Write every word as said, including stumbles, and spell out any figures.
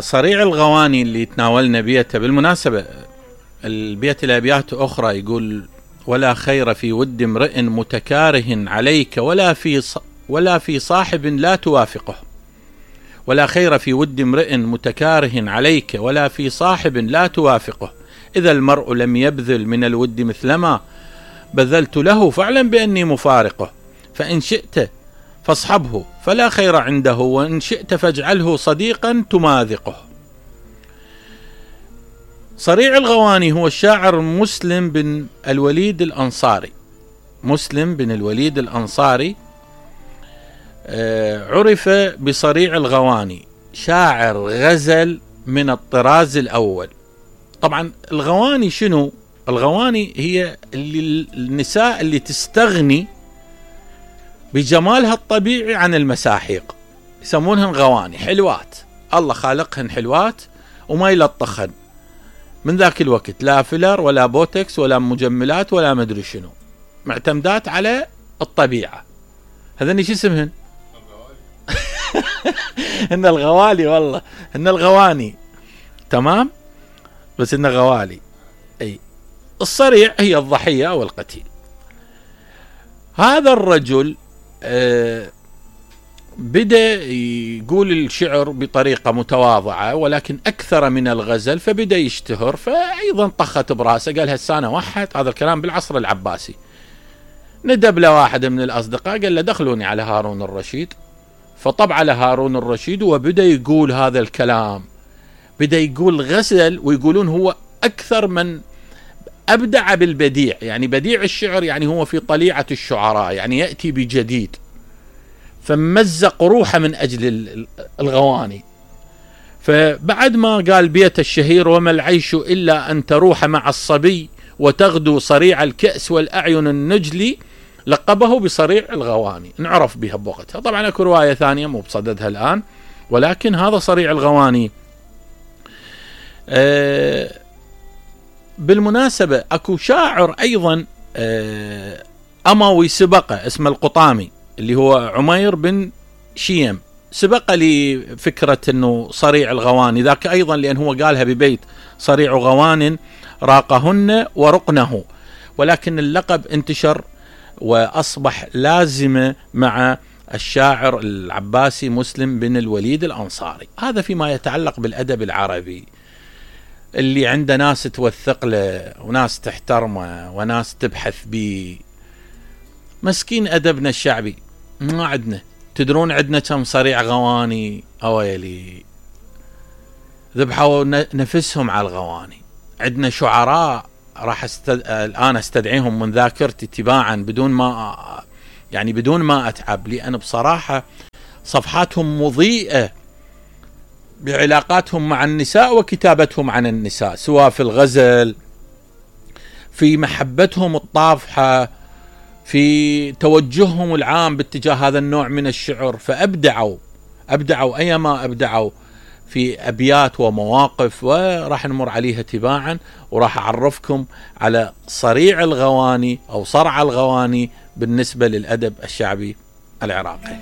صريع الغواني اللي تناولنا بيته، بالمناسبة البيت الأبيات أخرى يقول: ولا خير في ود امرئ متكاره عليك ولا في ولا في صاحب لا توافقه. ولا خير في ود امرئ متكاره عليك ولا في صاحب لا توافقه. إذا المرء لم يبذل من الود مثلما بذلت له فاعلم بأني مفارقه. فإن شئت فاصحبه فلا خير عنده، وإن شئت فاجعله صديقا تماذقه. صريع الغواني هو الشاعر مسلم بن الوليد الأنصاري. مسلم بن الوليد الأنصاري عرف بصريع الغواني، شاعر غزل من الطراز الأول. طبعا الغواني شنو؟ الغواني هي اللي النساء اللي تستغني بجمالها الطبيعي عن المساحيق، يسمونهن غواني، حلوات، الله خالقهن حلوات وما يلطخن من ذاك الوقت، لا فيلر ولا بوتكس ولا مجملات ولا مدري شنو، معتمدات على الطبيعة. هذني شو اسمهن؟ هن الغوالي، والله هن الغواني، تمام، بس هن غوالي. اي الصريع هي الضحية او القتيل. هذا الرجل آه بدأ يقول الشعر بطريقة متواضعة ولكن أكثر من الغزل، فبدأ يشتهر، فأيضا طخت براسه، قال هالسانة وحد. هذا الكلام بالعصر العباسي. ندب له واحد من الأصدقاء قال له دخلوني على هارون الرشيد، فطبع على هارون الرشيد وبدأ يقول هذا الكلام. بدأ يقول غزل، ويقولون هو أكثر من أبدع بالبديع، يعني بديع الشعر، يعني هو في طليعة الشعراء، يعني يأتي بجديد، فمزق روحه من أجل الغواني. فبعد ما قال بيت الشهير: وما العيش إلا أن تروح مع الصبي وتغدو صريع الكأس والأعين النجلي، لقبه بصريع الغواني، نعرف بها بوقتها. طبعا اكو رواية ثانية مو بصددها الآن، ولكن هذا صريع الغواني. أه بالمناسبة اكو شاعر أيضا أه أموي سبقه اسمه القطامي، اللي هو عمير بن شيم، سبق لي فكرة انه صريع الغواني ذاك ايضا، لان هو قالها ببيت: صريع غوان راقهن ورقنه. ولكن اللقب انتشر واصبح لازمة مع الشاعر العباسي مسلم بن الوليد الأنصاري. هذا فيما يتعلق بالأدب العربي اللي عنده ناس توثق له وناس تحترمه وناس تبحث به. مسكين أدبنا الشعبي ما عندنا. تدرون عندنا كم صريع غواني؟ أويلي ذبحوا نفسهم على الغواني. عندنا شعراء راح استد... الآن استدعيهم من ذاكرتي تباعا بدون ما يعني بدون ما أتعب، لأن بصراحة صفحاتهم مضيئة بعلاقاتهم مع النساء وكتابتهم عن النساء، سواء في الغزل، في محبتهم الطافحة، في توجههم العام باتجاه هذا النوع من الشعر. فأبدعوا أبدعوا أيما أبدعوا في أبيات ومواقف، وراح نمر عليها تباعا، وراح أعرفكم على صريع الغواني أو صرع الغواني بالنسبة للأدب الشعبي العراقي.